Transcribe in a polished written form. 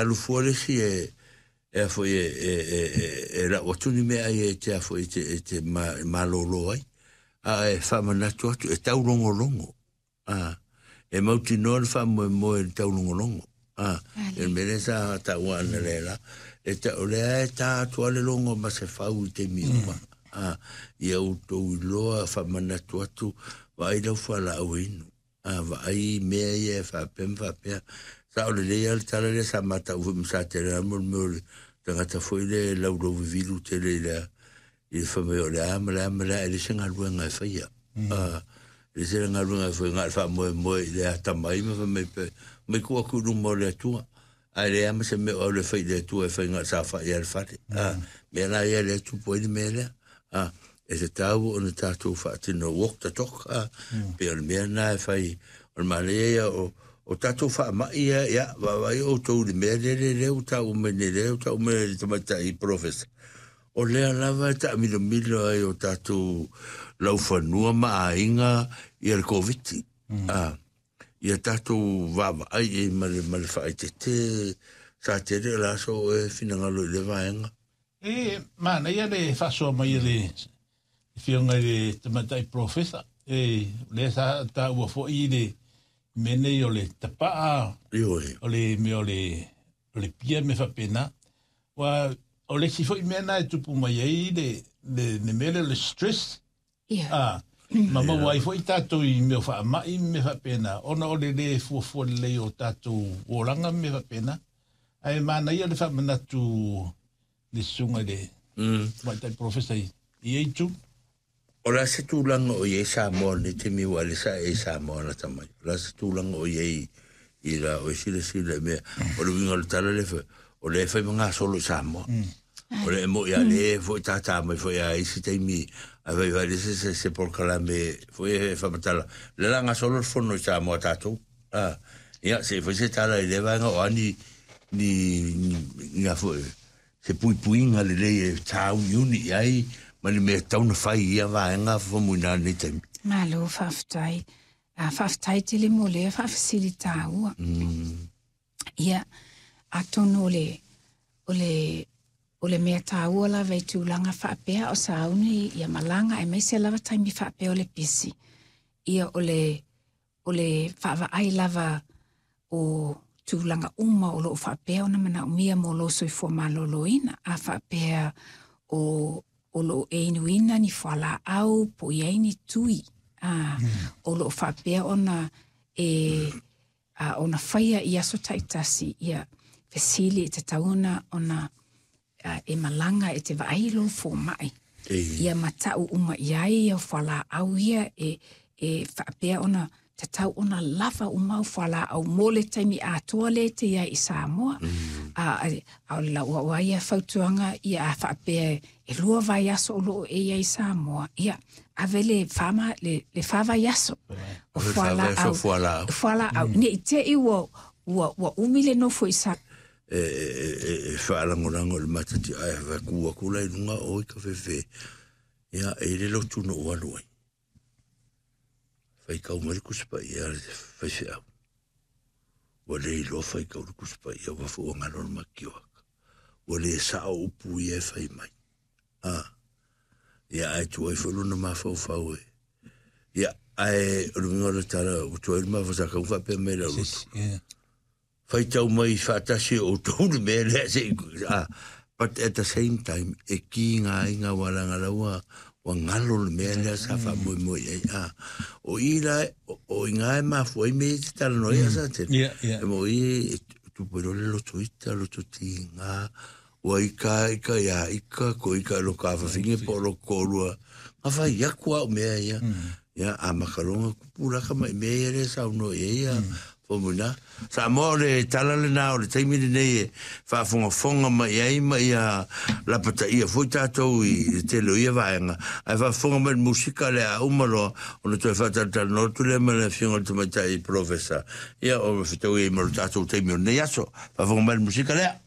alu fua le isi e e a foi e e e e e lau atu ni meaai e te a foi e te e te malolo ai, a e faamanatu atu e taulogologo. A, e mautinoa le faamoemoe i le taulogologo. A, e le mea lea sa taua ana le la, e ta, o lea e tā atu a le logo ma se fau i taimi uma. A, ia outou iloa faamanatu atu, vaai lau fualaau e inu. A, vaai mea ia e faapea ma faapea. Sa o lelei lava le tala lea sa matau foi ma Satele mo le mea o le tagata foi lea e laulauvivilu tele i le i le fai mai o le a ma le a ma le a, e leai se galuega e faia. A, e leai se galuega e faia, na o le faamoemoe i le atamai ma fai mai pe, mai tuu atu i luma o le Atua. Ae leai lava ma se mea o au e fai i le Atua e fai na o le saofai lava i le fale. A, mea la ia lea e tupu ai le mea lea. A, e tatau ona tatou faatino walk the talk, a, pei o le mea lena e fai, o le manaia ia o, o tatou faamai ia, ia, vaavaai outou i le mea lea, lea, lea ua taua mai nei, lea ua taua mai e le tamaitai polofesa. O lea lava e taamilomilo ai o tatou laufanua ma aiga ia le Koviti. Mm. A, ia tatou vaavaai i ma le, ma le faaeteete sa tele o le aso o e finagalo i le vaega. E manaia le faasoa mai e le Afioga i le Tamaitai Polofesa. E, lea sa taua foi le mea nei o le tapaa, Ioe. o le mea o le, o le pia me faapena. Ua, o le isi foi mea na e tupu mai ai le, le, le mea lea o le stress. Ia. A, ma maua ai foi tatou i mea o faamai ma mea faapena, ona o le lē fuafua lelei o tatou olaga ma mea faapena. Ae manaia le faamanatu le susuga i le tamaitai polofesa i ia itu. O le a se tulaga o i ai Samoa i lenei taimi aua o lea sa e i Samoa lata mai. O le a se tulaga o i ai i la oe silasila i mea. O le uiga o le tala lea fai, o lea e fai ma gasolo i Samoa. O le mo'i a lea foi tātā mai foi a isi taimi a fai fai le se se, se polokalame foi e faamatala. Le la gasolo le fono i Samoa tatou. Ah, ia, se i fai se tala i lea vaega o a ni, ni, ni, ni a foi, se puipuiga lelei e tāuniuni i ai ma ni mea e tatau ona fai i ia vaega fafamuina i lenei taimi. Malo faafetai. A faafetai tele mo lea faafesili tāua. Mm. Ia, atonu o le, o le, o le mea tāua lava i tulaga faapea o sauni ia malaga aemaise lava taimi faapea o le pisi. Ia o le, o le vaavaai lava o tulaga uma o lo o faapea ona manaomia mo lou soifua maloloina, a faapea o o lo o e inuina ni fualaau po o i ai ni tui a, o lo o faapea ona e a, ona faia i aso taitasi, ia fesili e tatau ona ona e malaga e te vaai i lou fomai. Ia matau uma i ai au fualaau ia e, e faapea ona tatau ona lava uma au fualaau mo le taimi atoa lea e te i ai i Samoa. Mm. A, a, a o lau au ai ia fautuaga ia a faapea e lua vaiaso o lo o e i ai i Samoa, ia ave le whama, le, le wha vaiaso o fualaau. Fualaau. Fualaau. Mm. Ne i te i ua, ua, ua umi le nofo i Samoa. E, e, e, e faalagolago i le matati ae faku atu la i luga o i ka fefe. Ia, e le lotu no ou alu ai. Faitau mai le Tusi Paia a le faifeau. Ua le iloa faitau le Tusi Paia ua foi ua galo le matioaka. Ua le sao upu ia e fai mai. A, ia ae tuai foi lona mafaufau e. Ia, ae o le uiga o le tala, ua tuai le mafaufau sa tau faapea mai lau lotu. Faitau mai faatasi e outou le mea lea se i, ah, but at the same time, e kiga ai ngā wālanga la ua, ua ngalo le mea lea sa faamoemoe i ai. Ah, o i la, o, o i ngā e mafua ai me i te talanoa ai a sa tele. Yeah, yeah. E mo i e tupu ai loa le loto ita, loto tīngā, ua ika ika ia ika, ko ika lo ka whawhinge po lo kōrua. Nga whai aku au mea ia. Ia, a makalonga kupu laka mai mea ia le saunoa i ai ia. Fomuna. Samoa o le tala lena o le taimi lenei e faafogafoga mai ai ma ia lapataia foi tatou i le tele o ia vaega. Ae faafofoga mai le musika lea a uma loa ona toe faatalatalanoa atu lea ma le Afioga i le Tamaitai Polofesa. Ia, o fetaui ai ma lo tatou taimi o lenei aso. Faafofoga mai le musika lea.